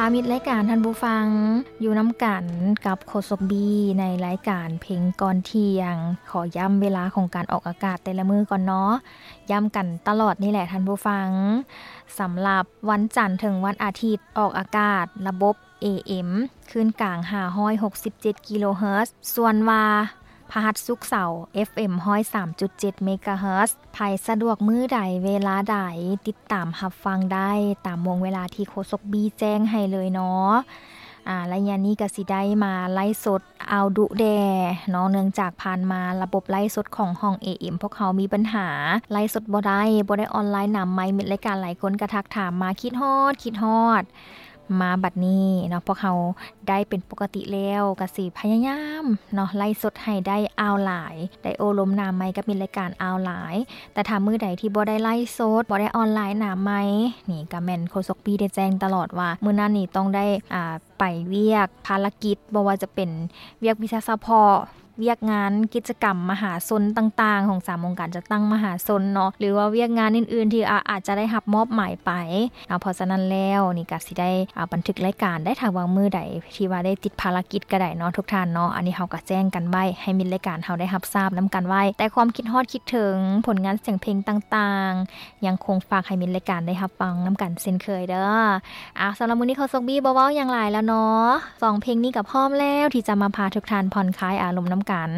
ຕາມມິດລາຍການທ່ານຜູ້ຟັງ ຢູ່ນຳກັນກັບໂຄສົກບີ ໃນລາຍການເພງກ່ອນທ່ຽງ. ຂໍຢ້ຳເວລາຂອງການອອກອາກາດແຕ່ລະມື້ກ່ອນເນາະ, ຢ້ຳກັນຕະຫຼອດນີ້ແຫຼະທ່ານຜູ້ຟັງ. ສຳລັບວັນຈັນເຖິງວັນອາທິດ ອອກອາກາດລະບົບ ເອເອັມ ຄື້ນກາງ ຫ້າຮ້ອຍຫົກສິບເຈັດ ກິໂລເຮີດ, ສ່ວນວ່າພະຫັດສຸກເສົາ ເອັຟເອັມ ຮ້ອຍສາມຈຸດເຈັດ ເມກາເຮີດ. ໃຜສະດວກມື້ໃດເວລາໃດ ຕິດຕາມຮັບຟັງໄດ້ຕາມວົງເວລາທີ່ໂຄສົກບີແຈ້ງໃຫ້ເລີຍເນາະ. ອາ ໄລຍະນີ້ກະຊິໄດ້ມາໄລຟ໌ສົດເອົາດຸແດ່ເນາະ, ເນື່ອງຈາກຜ່ານມາລະບົບໄລຟ໌ສົດຂອງຫ້ອງ ເອເອັມ ພວກເຮົາມີບັນຫາ ໄລຟ໌ສົດບໍ່ໄດ້ ບໍ່ໄດ້ອອນລາຍນຳໃໝ່. ມິດລາຍການຫຼາຍຄົນກະທັກຖາມມາ ຄິດຮອດ ຄິດຮອດ. ມາບັດນີ້ເນາະ ພວກເຮົາໄດ້ເປັນປົກກະຕິແລ້ວ ກະຊິພະຍາຍາມເນາະ ໄລຟ໌ສົດໃຫ້ໄດ້ອ່າວຫຼາຍ ໄດ້ໂອ້ລົມໜ້າໃໝ່ກັບມິດລາຍການອ່າວຫຼາຍ. ແຕ່ຖ້າມື້ໃດທີ່ບໍ່ໄດ້ໄລຟ໌ສົດ ບໍ່ໄດ້ອອນລາຍນຳໃໝ່ນີ້ ກະແມ່ນໂຄສົກບີໄດ້ແຈ້ງຕະຫຼອດວ່າ ມື້ນັ້ນນີ້ຕ້ອງໄດ້ ອາ ໄປວຽກພາລະກິດ ບໍ່ວ່າຈະເປັນວຽກວິຊາສະເພາະ, ວຽກງານກິດຈະກຳມະຫາຊົນຕ່າງໆ ຂອງສາມອົງການຈັດຕັ້ງມະຫາຊົນເນາະ ຫຼືວ່າວຽກງານອື່ນໆ ທີ່ ອາ ອາດຈະໄດ້ຮັບມອບໝາຍໄປເນາະ. ເພາະສະນັ້ນແລ້ວນີ້ກະຊິໄດ້ ອາ ບັນທຶກລາຍການໄດ້ ຖ້າວ່າມື້ໃດທີ່ວ່າໄດ້ຕິດພາລະກິດກະໄດ້ເນາະ ທຸກທ່ານເນາະ. ອັນນີ້ເຮົາກະແຈ້ງກັນໄວ້ ໃຫ້ມິດລາຍການເຮົາໄດ້ຮັບຊາບນຳກັນໄວ້. ແຕ່ຄວາມຄິດຮອດຄິດເຖິງ ຜົນງານສຽງເພງຕ່າງໆ ຍັງຄົງຝາກໃຫ້ມິດລາຍການໄດ້ຮັບຟັງນຳກັນເຊັ່ນເຄີຍເດີ. ອາ ສຳລັບມື້ນີ້ໂຄສົກບີບໍ່ເວົ້າຫຍັງຫຼາຍແລ້ວເນາະ, ສອງເພງນີ້ກະພ້ອມແລ້ວທີ່ຈະມາພາທຸກທ່ານຜ່ອນຄາຍອາລົມນຳກັນ.